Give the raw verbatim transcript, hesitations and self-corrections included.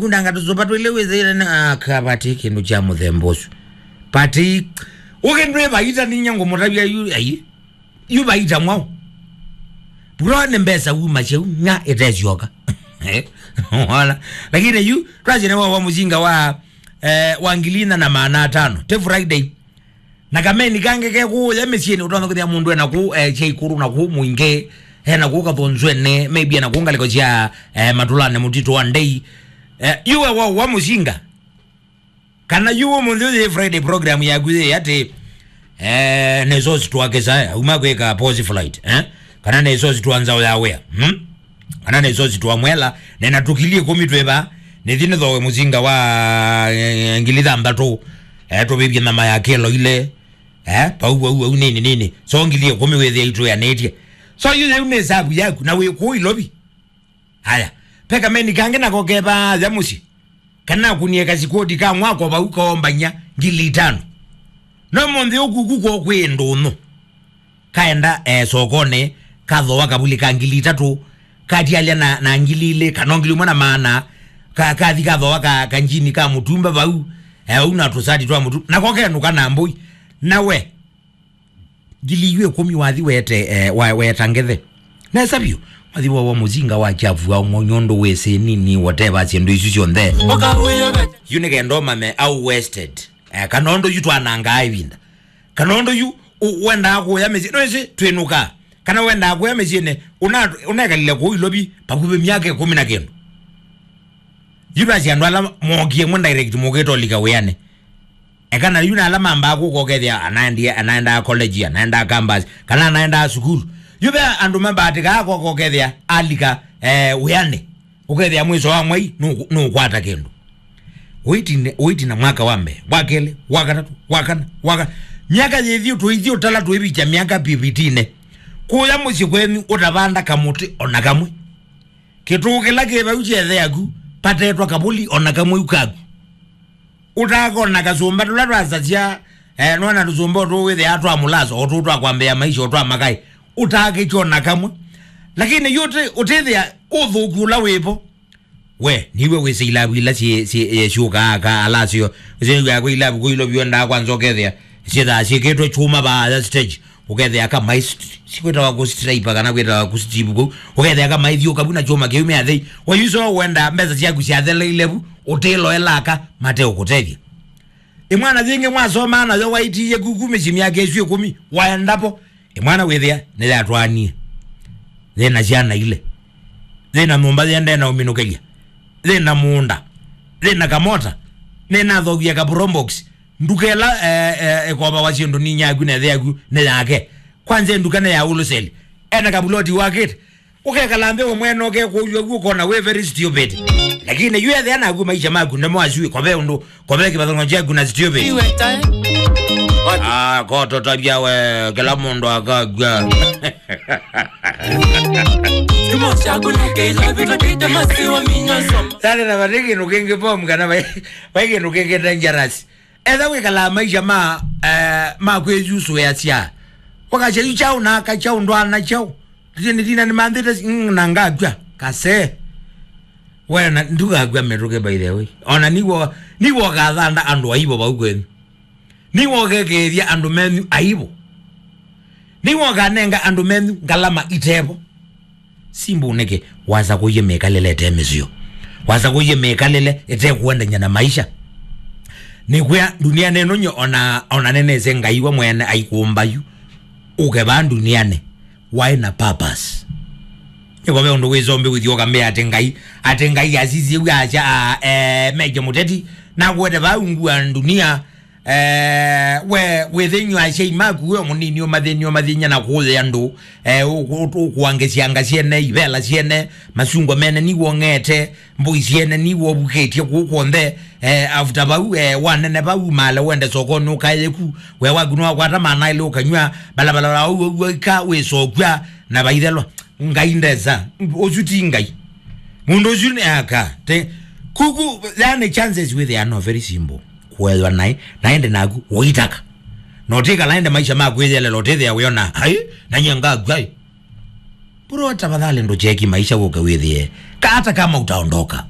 Kundanga tũsũmba twĩlĩ wĩthĩĩle na, ah, ka vati kĩndũ kya mũthemba ũsu. Vati, ũkĩ ndwĩ vaita ninya ngũmũtavya yu, ai, yu vaita mwau. Bro, nĩ mbesa wuma syau, nya ĩtesyoka. Wala. Lakini yu, twasye nĩ wa, wa mũsinga wa, eh, wa ngili ina na maana atano. Ti Friday. Na kameni kangĩ ke kũũya mĩsyĩnĩ, ũtonya kwĩthĩa mũndũ ena kũu, eh, sya ikũrũ na kũu mũingĩ, ena kũu kathonzwene, maybe ena kũu ngalĩko sya, eh, matũlanĩ mũtitũ wa ndei. Eh, yu we wa, wa mũsinga. Kana yu ũmũnthĩ ũyũ Friday program yaku yĩ atĩ, eh, nĩ sosi twa Kesaya, auma kwĩka pause flight, eh? Kana nĩ sosi twa nzao ya wĩa, hmm? Kana nĩ sosi twa mwela, nena tũkili ĩkũmi twĩva, nĩthi nĩthowe mũsinga wa, eh, ngili thanthatũ, eh, tũvĩvye nyama ya kĩlo ile, eh, pau, pau, pau, nini, nini. So ngili ĩkũmi wĩthĩa itwĩanĩtye. So yu yau nĩ sabu yaku, na wĩ kũu Ilovi. Haya, pe kameni kangĩ nako keva aja mũsyĩ. Kana akunie kasikoti ka mwako vau kaombany'a ngili itano. No mũnthĩ ũkuku kwoo kwĩ ndũnyũ. Kaenda, eh, sokonĩ, kathoa kavuli ka ngili itatũ, katialya na, na ngili ilĩ, kana ngili ũmwe na maana, ka, kathi kathoa ka, kanjini ka mũtumba vau, eh, vau na tũsati twa mũtu, nako kenũka na mbũi. Na we, ngili iu ĩkũmi wathi wete, eh, wa, weta ngethe. Nesa vyũ, wathi wa, wa mũsinga wa kyavu wa ng'o nyondo wĩsĩ nini whatever syĩndũ isu syonthe. Yu nĩ kenda ũmame au wasted. Eh, kana ũndũ yu twanangaa ĩvinda. Kana ũndũ yu, u-, wendaa kũya mĩsyĩ, nĩwĩsĩ twĩnũkaa. Kana wendaa kũya mĩsyĩnĩ, ũna-, ũnekalile kũu Ilovi, vakuvĩ myaka ĩkũmi na kĩndũ. Yu vasi andũ ala mokie mwe direct mũkĩtolika wĩanĩ. Eka na yu na ala mambaa kũka ũkethĩa anaendie, anaendaa college, anaendaa campus, kana anaendaa sukulu. Yu ve andũ mabaatĩkaa kũka ũkethĩa alika, eh, wĩanĩ. Ũkethĩa mwĩso wa mwai nũkũ-, nũkwata kĩndũ. Ũitina, ũitina mwaka wa mbee, wa kelĩ, wa katatũ, wa kana, wa ka-, myaka yĩthi tũithi ũtala tũivikya myaka fifteen. Kũya mũsyĩ kwenyu ũtavanda kamũtĩ ona kamwe. Kĩtũũ kĩla kĩ vau kyethe yaku, patetwa kavũli ona kamwe u kaku. Ũtakona kasũmba tũla twasasya, eh, nona tũsũmba ũtũ wĩthĩa twa mũlaso, ũtũ twa kwambĩa maisha, ũtwa makai. Ũtakĩkyo na kamwe. Lakini yu ũti-, ũtĩthĩa ũthũku ũla wĩvo. We, niwe wĩsĩ ilavu ila syĩ, syĩ, eh, syũkaa ka alasyo. Wĩsĩ ya kwa ilavu kwa ilo vyondaa kwanza ũkethĩa. Syĩthaa syĩkĩtwe chuma vaa ya stage. Ũkethĩa kama isi-, sikwĩtawa kũstraipa kana kwĩtawa kũstivu kũu. Ũkethĩa kama ithiũka vu na chuma kĩu mĩathei. Wayuso wenda mbesa syaku syatheleile vu, ũtĩloelaka, mate ũkũtethya. Ĩmwana yĩngĩ mwasoma nayo waitiie kuku mĩsyĩ myaka ĩsu ĩkũmi, waendapo. Ĩmwana wĩthĩa, nĩyatwaanie. Yĩna syana ile. Yĩna nyũmba yende na ũminũkĩlya. Yĩna mũũnda. Yĩna kamota. Nĩnathokie ka probox. Nduka ĩla, eh, eh, ĩkovawa syĩndũ ninya yaku na ĩthe yaku nĩ yake. Kwanza nduka nĩ ya wholesale. Ena kabuloti wakĩte. Ũkekala nthĩ ũmwene ũkekũlw'a guo ũkona wĩ very stupid. Lakini yu ethĩa naku maisha maku nĩmo asu kove ũndũ, kove kĩvathano kyaku na stupid. Iwe time. Ah, koto tabia we, kĩla mũndũ akagwa. Kimo syaku nĩ kĩla vitũ tĩte masiwa minyo soma. Sale na vate kĩndũ kĩngĩ bomu kana vai, vai kĩndũ kĩngĩ dangerous. Etha wĩkalaa maisha ma, eh, ma kwĩyusũĩasya. Wakasya yu kyaũ na aka kyaũ ndwana kyaũ. Tĩtye nĩ thina nĩ manthĩte si-, mm, na ngakw'a. Kase. We na ndũkakw'a mĩtũkĩ by the way. Ona niwo, niwo ũkathanda andũ aivo vau kwenyu. Niwo ũkekĩĩthya andũ menyu aivo. Niwo ũkanenga andũ menyu ngalama itevo. Simbu nĩkĩ wasakũie mĩkalĩle ĩte mĩseo? Wasakũie mĩkalĩle ĩte kũendany'a na maisha. Nĩkwĩa, ndunianĩ ĩno nyie ona, ona nĩnĩsĩ Ngai we mwene aikũmba yu. Ũke vaa ndunianĩ, waĩ na purpose. Nĩko ve ũndũ wĩsombi wĩthi ũkambĩa atĩ Ngai, atĩ Ngai asisye w'o asya, ah, eh, Meja Mũteti, nakwete vaa ungu wa ndunia, Eh, we, wĩthĩnywa asyai maku, we mũnini ũmathĩny'a, ũmathĩny'a na kũũya andũ, eh, ũ-, ũ-, ũkũangĩsya anga syene, ivela syene, masungwa mene niw'o ng'ete, mbũi syene niw'o ũvukĩtye kũu kw'onthe, eh, after vau, eh, wanene vau, male wende sokonĩ ũkaye ku, we waku nĩwakwata maana elĩ ũkanyw'a, balabala wa ũw'o ika wĩsokw'a, na vaithelwa. Ngai ndesa, ũsu ti Ngai. Mũndũ ũsu nĩ aka, te, kuku, yani chances wĩthĩa no very simple. Kũethwa naĩ, na ĩndĩ naku ũitaka. Na ũtĩkala ĩndĩ maisha ma kwĩyelela ũtĩthĩa wĩona, "Ai, na nyie ngakw'a ĩ." Bro, tafadhali ndũcheki maisha wũke wĩthĩe. Ka-, hata kama utaondoka,